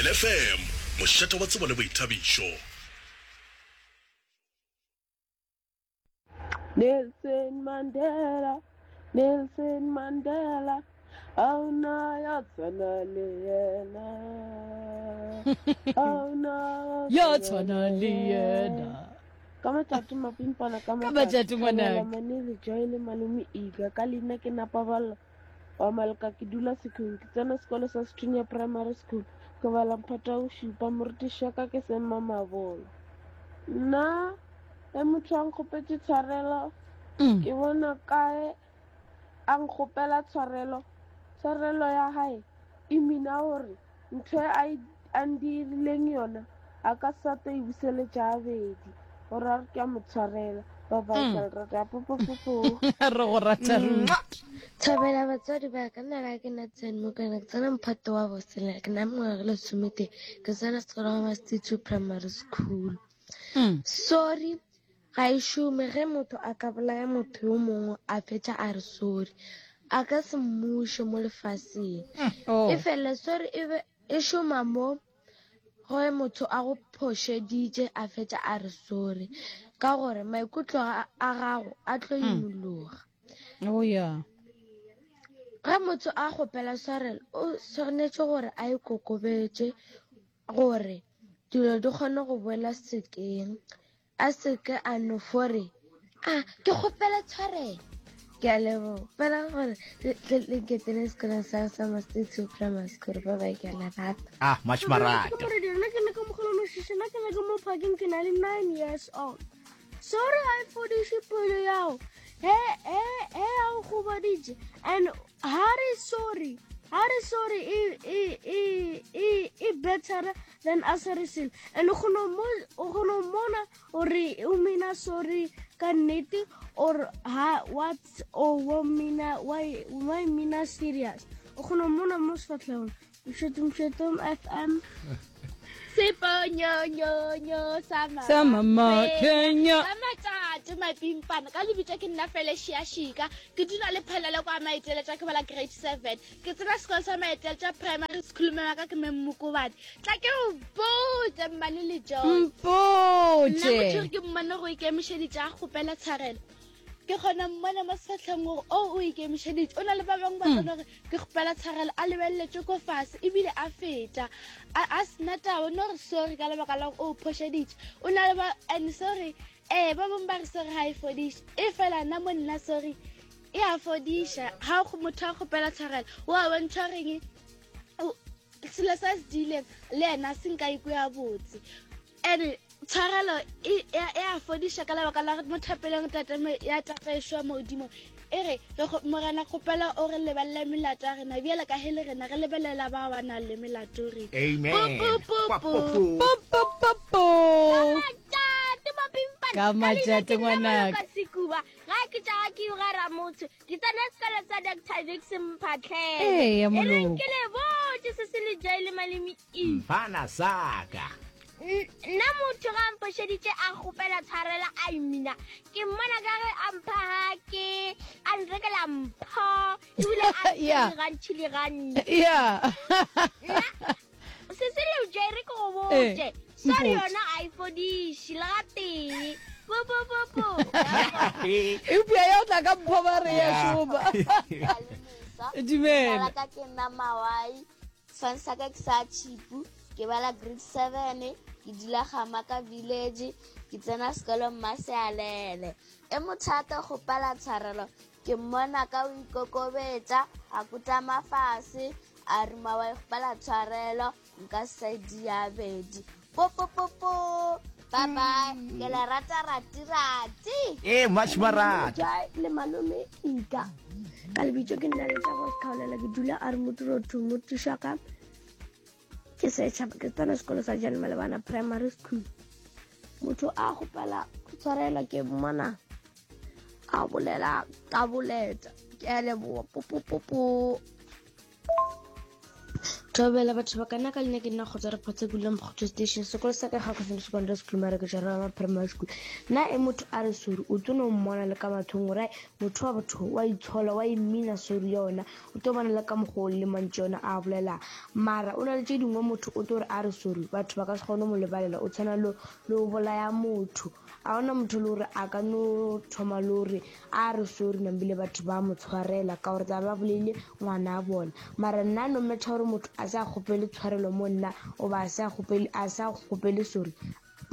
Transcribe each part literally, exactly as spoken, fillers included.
Thobela F M, mošate wa tsebo le boithabišo. Nelson Mandela, Nelson Mandela, a ona ya tshwana le yena. A ona ya tshwana le yena. Ka matšatši mapimpana ka Ka matšatši, ngwanaka. Manele Joy le malome Ika, ka leina ke Napaballo wa Malka, ke dula Sekhong, ke tsena sekolo sa Sethunya Primary School, ke bala mphata o šupa, morutiši wa ka ke Semma Mabolo. Nna ge motho a nkgopetše tshwarelo, Mm. ke bona kae a nkgopela tshwarelo, tshwarelo ya hae e mina gore ntho e a e- a ndirileng yona a ka sa tlo e buseletša gabedi, gore a re ke a mo tshwarela. Bye bye. Mm. Ke a le rata, popopopo. Re go rata ruri. Thobela batswadi ba ka, nna ga ke na tsene mokana, ke tsena mphato wa boselela, ke na mengwaga e lesometee, ke tsena sekolo wa Mastitu Primary School. Mm. Sorry ga e šome. Ge motho a ka bolaya motho yo mongwe, a fetša a re sorry, a ka se mmuše mo lefaseng. Oh. E fela sorry e be e šoma mo ge motho a go phošeditše, a fetša a re sorry, ka gore maikutlo a a gago a tlo imologa. Oh yeah. Ge motho a kgopela tshwarelo, o swanetše gore a ikokobetše gore dilo di kgone go boela sekeng, a seke a no fore a ke kgopela tshwarelo. Ke a leboga fela gore le le nketele sekolong sa sa Mastitu Primary School. Ba bye, ke a le rata. Ah, much marato. Nna ke ne ka mogolo mošiši, nna ke ne ke mo parking, ke na le nine years old. Sorry ga e fodiše pelo yao he he he a o gobaditše, and ha re sorry ha re sorry e e e e e better than a sa re selo, and o kgona ho mo- o kgona ho mona gore o mina sorry ka nnete or ha what or wa mina why why mina serious, o kgona ho mona mo sefatlhegong. Mšetom Mšetom F M. Seponyonyonyo sa Sa mama Kenya. Ka matšatši mapimpana, ka lebitso ke nna Felecia Shika, ke dula le phelele kwa Maiteletša, ke bala grade seven, ke tsena sekolo sa Maiteletša Primary School. Mme wa ka ke Memmokobadi. Tla ke o botse, mmane le Joy, nna Mpotše. Motho gore ke mmone go ikemišeditše a kgopela tshwarelo, ke kgona mmona mo sefatlheng gore o o ikemišeditše. O na le ba bangwe ba tsena gore ke kgopela tshwarelo, a lebeleletse ko fase ebile a feta a a sena taba, no re sorry ka lebaka la gore o phošeditše. O na le ba and sorry, ee, ba bangwe ba re sorry ga e fodiše, e fela nna mo nna sorry e a fodiša. Ga go motho a kgopela tshwarelo, o a bontšha goreng o- selo sa se diileng le ena se nka ikwe ya botse, and tshwarelo e e e a fodiša ka lebaka la gore mo thapeleng tate me- ya tataišo ya modimo e re re kgo- morena kgopela o re lebalele melato ya rena bjale ka he le rena re lebelela ba ba nang le melato rena. Amen. Po, po, po, po. Po, Po po po po. Matšate mapimpana. Ka matšate, ngwanaka. Ka sekuba ga ke tša ga ke gara motho, ke tsena sekolo sa Doctor Vix Mphatlhele. Eya, E reng moloko. ke le botse se se le Joy le malome E. Mfana saka. N- nna motho ga mphošeditše a kgopela tshwarela, a imina ke mmona ka ge a mpha gake, a nrekela mpho ebile a Yeah. gantšhi le gantši. Yeah. Se se le Joy, re ke go Eh, botse, sorry mpotše. yona ga e fodiše le ga tee. Po po po po. Eupša ya o tla ka mpho ba re ya šoma. Dumela. Ka ke nna Mawai, sefane sa ka ke sa Chipu, ke bala grade seven, ke dula Gamaka Village, ke tsena sekolo Mmasealele. E motho a kgopela tshwarelo, ke mmona ka o ikokobetša, a kutama fase, a re Mawai, kgopela tshwarelo, nka se sa diabedi. Popopopo, bye bye, ke le rata rati rati. Eh, much marato. Joy le malome Ika, ka lebitso ke nna Letsago Sekgaolela, ke dula a re motirotho motišaka ke setšhaba, ke tsena sekolo sa Jane Malebana Primary School. Motho a kgopela tshwarelo, ke mmona a bolela ka boleta. Ke a leboa, popopopo. Thobela batho ba ka nna ka leina ke nna kgotsa re photse kula mokgotso station sekolo sa ka ga kgoseng secondary school mara ke tšwa primary school nna e motho a re sorry o tlo no mmona le ka mathong gore motho wa batho wa itshola wa imina sorry yona o tlo bona le ka mokgwa o le mantši yona a bolela mara o na le tše dingwe motho o tlo re a re sorry batho ba ka se kgone mo lebalela o tshwana le le o bolaya motho a ona motho le gore a ka no thoma le gore a re sorry nambile batho ba mo tshwarela ka gore tla ba boleile ngwana a bona mara nna no matter gore motho a sa kgopele tshwarelo mo nna oba a sa kgopele a sa kgopele sorry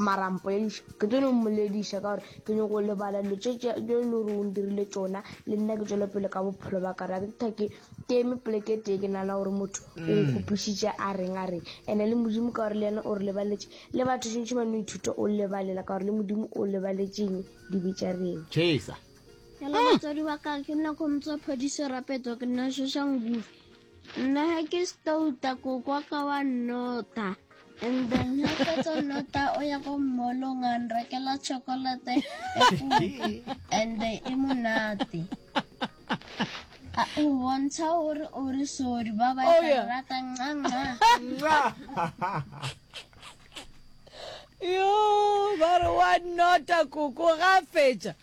mara mpolediša ke tlo no mmolediša ka gore ke nyako lebala dilo tše tše le gore o ndirile tšona le nna ke tswele pele ka bophelo ba ka re ke ke ke eme poleke tee ke nana gore motho o nkgopišitše a reng a reng ande le modimo ka gore le yena o re lebaletše le batho tšhentšhe ba no ithuta o lebalela ka gore le modimo o lebaletšeng dibe tša reng Chesa. Hello batswadi ba ka ke nna Khomotso Phodiso Rapeto ke nna Shoshanguve nna ha ke stouta koko wa ka wa nnota and then ha fetsa nnota o ya ko mall-ong a nrekela chocolate e and e monate A- o bontsha gore o re sorry ba ba Oh, yeah. rata nca nca yo ba re wa nota koko ga fetša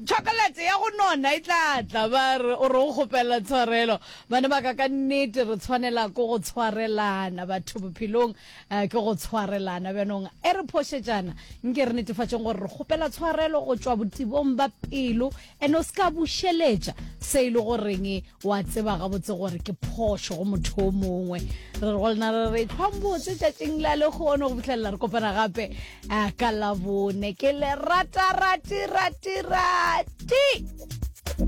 chocolate ya go nona e tla tla ba re o re o kgopela tshwarelo bana ba ka ka nnete re tshwanela ko go tshwarelana batho bophelong eh, ke go tshwarelana bjanong e re phošetšana nke re netefatšeng gore re kgopela tshwarelo go tšwa botebong ba pelo and o se ka bušeletša se e le goreng wa tseba gabotse gore ke phošo go motho o mongwe re re go lena re re tlhwambotse tšatšing la lekgono go fitlhelela re kopana gape eh, ka labone ke le rata rati rati rati.